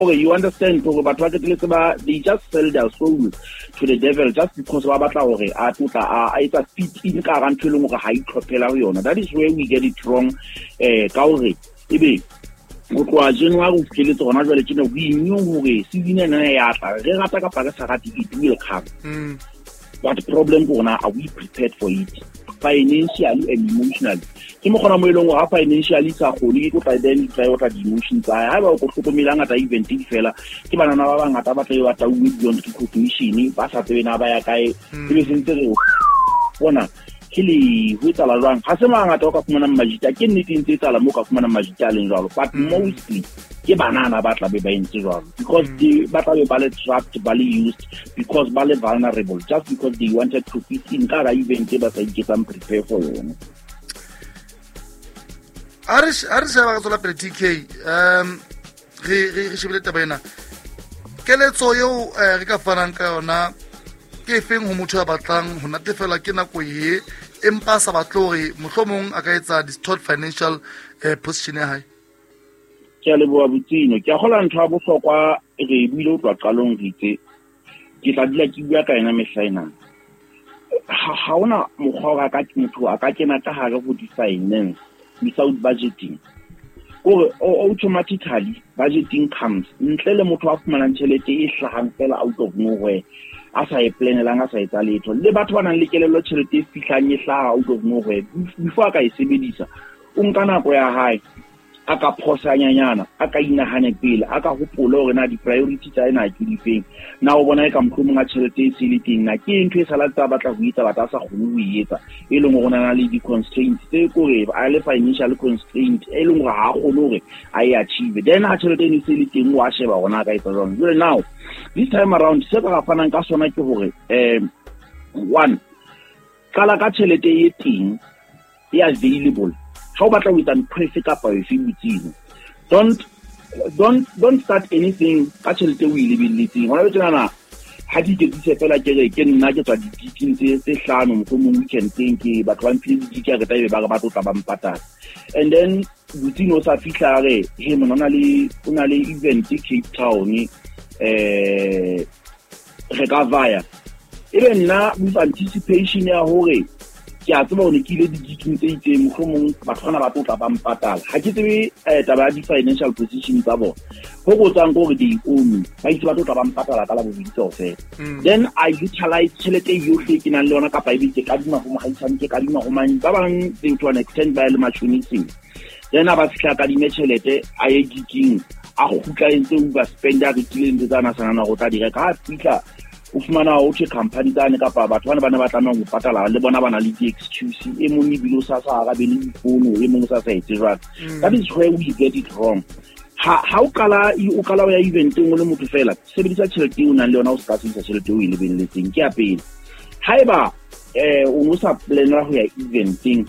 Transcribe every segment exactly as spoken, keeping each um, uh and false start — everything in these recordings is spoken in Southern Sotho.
Gore you understand gore batho ba qetelletse ba, they just sell their soul to the devil just because ba batla hore a tlotla a a etsa fit in ka hara ntho e leng hore ha itlhophela ho yona. That is where we get it wrong. eh ka hore ebe go tloha January ho fihleletse hona jwale tjena, we knew hore season ena ya tla, re rata kapa re sa rate, it will come. Mm. But problem ke rona, are we prepared for it financially and emotionally? Ke mo kgona mo e leng hore ha financially sa kgone, ke tlo tla then tla otla di-emotions tsa hae. Haeba o ko hlokomele, hangata event di fela ke banana ba bangata ba tla be ba tauwe beyond recognition, ba sa tsebe na ba ya kae. Mm. Ebe sentse re bona ke le ho etsahala jwang. Ha se mangata o ka fumanang majita, ke nnete e ntse etsahala moo o ka fumanang majita a leng jwalo, but Mm. mostly ke banana ba tla be ba entse jwalo because Mm. they ba tla be ba le trapped, ba le used, because ba le vulnerable, just because they wanted to fit in ka hara event e ba sa iketsang prepare for yona. A re a re sheba ka tswela pele, T K, um re re re shebile taba ena. Keletso eo eh, re ka fanang ka yona ke efeng ho motho ya batlang ho natefelwa ke nako ye, empa a sa batle hore mohlomong a ka etsa distort financial eh, position ya hae? Ke a leboha, Botsino. Ke a kgola ntho ya bohlokwa re e buile ho tloha qalong, re itse ke tla dula ke bua ka yona mehla ena. Ha ha hona mokgwa wa ka motho a ka kena ka hare ho di-finance without budgeting, kore automatically budgeting comes ntle le motho a fumanang tjhelete e hlahang fela out of nowhere, a sa e planelang, a sa etsa letho. Le batho ba nang le kelello, tjhelete e fihlang e hlaha out of nowhere, before a ka e sebedisa o nka nako ya hae, a ka phosanyanyana, a ka inahane pele, a ka hopole hore na di-priority tsa ena ke difeng, na o bona e ka mohlomong a tjhelete e se le teng, na ke ntho e sala tsa batla ho etsa, batla a sa kgone ho e etsa, e leng hore o na le di-constraints tse kore a le financial constraint e leng hore ha a kgone hore a e achieve. Then ha tjhelete eno e se le teng, wa sheba hore na a ka etsa jwang. Jwale now this time around, se ka fanang ka sona ke hore um one, qala ka tjhelete e teng e available. Ha o batla ho etsa ntho efe kapa efe, botsino, don't don't don't start anything ka tjhelete o e lebelletseng hona jwale tjenana. Ha ke iketsise fela, ke re ke nna ke tswa di-gigeng tse tse hlano mohlomong weekend-eng, ke batho ba mphile di-gig, a re tla ebe ba re ba tlo tla ba mpatala, and then botsino o sa fihla, a re he mona o na le o na le event Cape Town, eh re ka vaya. Ebe nna with anticipation ya hore ke a tseba hore ke ile di-gigeng tse itseng, mohlomong batho bana ba tlo tla ba mpatala, ha ke tsebe eh, taba ya di-financial position tsa bona, ho botsang ke hore they owe me, ba itse ba tlo tla ba mpatala ka Labobedi kaofela. Mm. Then I utilize tjhelete yohle ke nang le yona, kapa ebe ke kadima ho mohaisane, ke kadima ho mang, ba bang they to an extent ba ye le matjhoniseng. Then a ba fihla kadime tjhelete, a ye gigeng, a kgutla entse overspend, a rekile ntho tsa na sa nahana hore o tla di reka. Ha a fihla o fumana ho thwe company tsane kapa batho bana ba ne ba tlameha ho patala le bona ba na le di-excuse, e mong ebile o sa sa arabe le difono, e mong o sa sa etse jwalo. Mm. That is where we get it wrong. ha ha o qala o qala o ya eventeng o le motho fela, sebedisa tjhelete eo o nang le yona, o se ka sebedisa tjhelete eo o e lebelletseng. Ke ya pele. Haeba eh o no sa planela ho ya eventeng,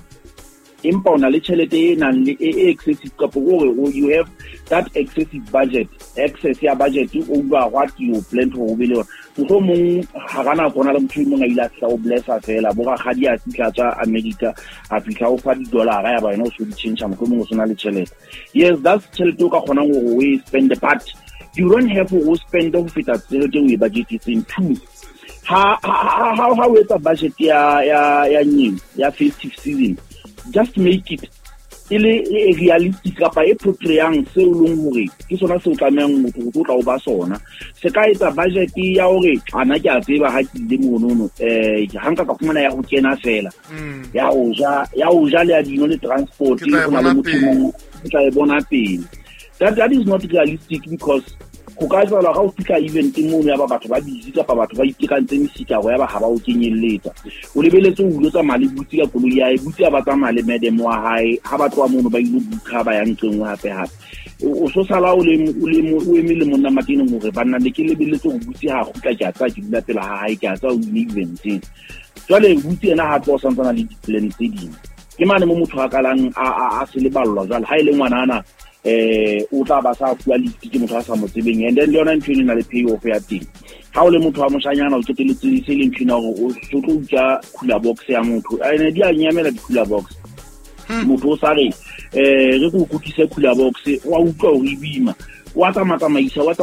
empa o na le tjhelete e nang le e e excessive, kapa hore o you have that excessive budget, excess ya budget over what you plan to ho be le yona, mohlomong hara nako ho na le motho e mong a ile a fihla o blessa fela, bo rakgadi a fihla tswa America, a fihla o fa di-dollar-a, ya ba wena o so di change, mohlomong o sena le tjhelete. Yes, that's tjhelete o ka kgonang hore o e spend, but you don't have hore o spend ho feta tjhelete o e budgetetseng. Two, ha ha ha ha o etsa budget ya ya ya nyeng ya festive season, just make it e le e realistic kapa e portrayang seo e leng hore ke sona seo tlamehang motho o tlo tla o ba sona. Se ka etsa budget ya hore ana ke a tseba ha ke ile monono, eh ha nka ka fumana ya ho kena fela, Mm. ya ho ja ya ho ja le ya dino le transport, Ke tla e ho na le bona motho pele. mong o tla e bona pele. that that is not realistic because ho ka etsahala ha o fihla eventeng mono, ya ba batho ba busy kapa batho ba itekantse mesikaro, ya ba ha ba o kenyelletsa. O lebeletse o ilo tsamaya le butsi ka koloi ya hae, butsi a ba tsamaya le madam wa hae, ha ba tloha mono ba ilo booka, ba ya nqe nngwe hape hape. O so sala o le o le o eme le monna mateneng hore banna ne ke lebeletse hore butsi ha kgutla, ke a tsaya ke dula pela ha hae, ke a tsaya o ile eventeng. Jwale butsi ena ha tloha o santsana le di-plan tse ding, ke mane mo motho a kalang a a a se leballwa. Jwale ha e le ngwanana, eh o tla ba sa fuwa lift ke motho a sa mo tsebeng, and then le yona ntho eno e na le pay off ya teng. Ha o le motho wa moshanyana, o qetelletse se le ntho ena hore o so tlo utswa cooler box ya motho, ene di a nyamela di-cooler box. Hmm. Motho o sa re eh re ko kutlise cooler box, wa utlwa hore e boima. Wa tsamatsamaisa, wa